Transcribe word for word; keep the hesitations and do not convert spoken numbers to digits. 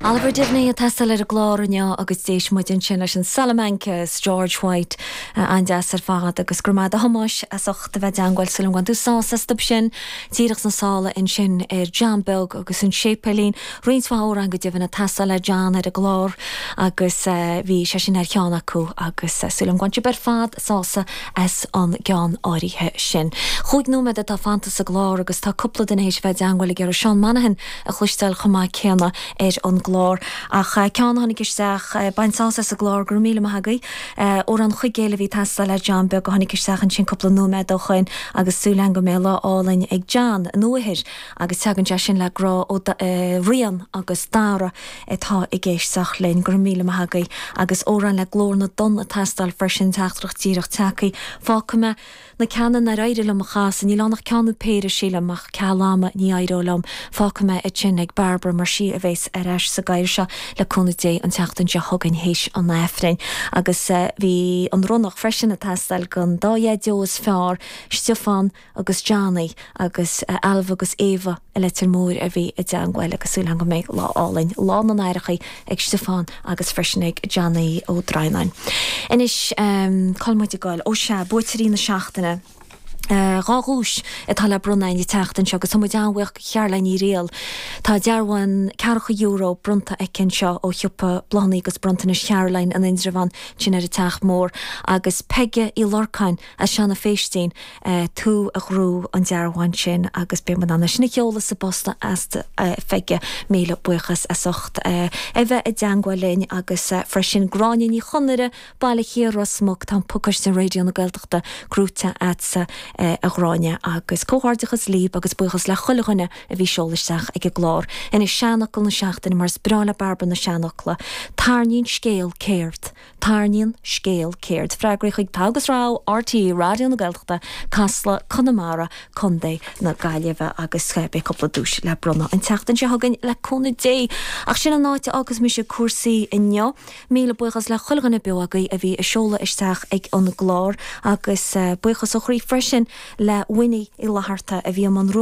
Oliver Devaney ag teastáil ar an gclár inniu agus d'éist muid ansin leis an Salamancas George White an-deas ar fad agus go raibh maith agat a Thomáis as ucht a bheith i dteagmháil súil agam gur bhain tú sásamh astu sin díreach sna sála ansin ar John Beag agus an séipéilín roinnt amhrán go deimhin ag teastáil le John ar an gclár agus bhí sé sin ar cheann acu agus súil agam gur bhain sibh ar fad sásamh as an gceann áirithe sin. Cúig nóiméad atá fanta sa gclár agus tá cúpla duine théis bheith i dteagmháil ag iarraidh Seán Monaghan a chloisteáil chomh maith céanna ar an gclár. ach ceann a tháinig isteach bain sásamh as an gclár go míle maith agaibh amhrán Chuigéil a bhí ag teastáil le John Beag a tháinig isteach ansin cúpla nóiméad ó shin agus súil go mbeidh lá álainn ag John an uathair agus tagann sé sin le grá ó Rian agus Dara atá ag éisteacht linn go míle maith agaibh agus amhrán le Glór na dTonn ag teastáil freisin teachtaireacht díreach tagtha fágfaidh mé na ceanna nár éirigh liom a chasadh níl ann ach ceann nó péire sílim ach ceal ama ní éireoidh liom fágfaidh mé é sin ag Barbara mar sí a bheas ar ais sa gcathaoir seo le cúnamh Dé an tseachtain seo chugainn théis an Aifrinn agus uh, bhí an ronnach freisin ag teastáil don dá dhaideo is fearr Stiofán agus Johnny agus uh, Alva agus Eva i Leitir Móir a bhí i dteagmháil agus súil go mbeidh lá álainn lá na n-aithreacha ag Stiofán agus freisin ag Johnny Ó Droighneáin. Anois um, cá bhfuil muid ag goil ó sé buaiteoirí na seachtaine. Uh, dhá dhuais atá le bronnadh an tseachtain seo agus muid an-bhuíoch Caroline Ní Riail. Tá dearbhán ceathracha euro bronnta aici anseo ó shiopa bláthanna agus bronntanais Caroline in Indreabhán sin ar an Teach Mór agus Peige Uí Lorcáin as Seanadh Phéistín uh, tú a ghnóthaigh an dearbhán sin agus beidh muid sin a sheoladh sa bpost chugat uh, Pheige míle buíochas as ucht uh, a bheith i dteagmháil linn agus uh, freisin Gráinne Ní Chonaire Baile Thiar Ros Muc tá pacáiste Raidió na Gaeltachta gnóthaithe agatsa a Ghráinne agus comhghairdeachas libh agus buíochas le chuile dhuine a bhí ag seoladh isteach ag an gclár. Anois seanfhocal na seachtaine mar is breá le Barbara na seanfhocla. Tarraingíonn scéal ceird. Tarraingíonn scéal ceird. Freagraí chuig Togha agus Rogha RTÉ Raidió na Gaeltachta Casla Conamara Contae na Gaillimhe agus beidh cúpla duais le bronnadh an tseachtain seo chugainn le cúnamh Dé. Ach sin an áit agus mise cúrsaí inniu, míle buíochas le chuile dhuine beo agaibh a bhí ag seoladh isteach ag an gclár agus buíochas ó chroí freisin le Winnie i Latharta a bhí an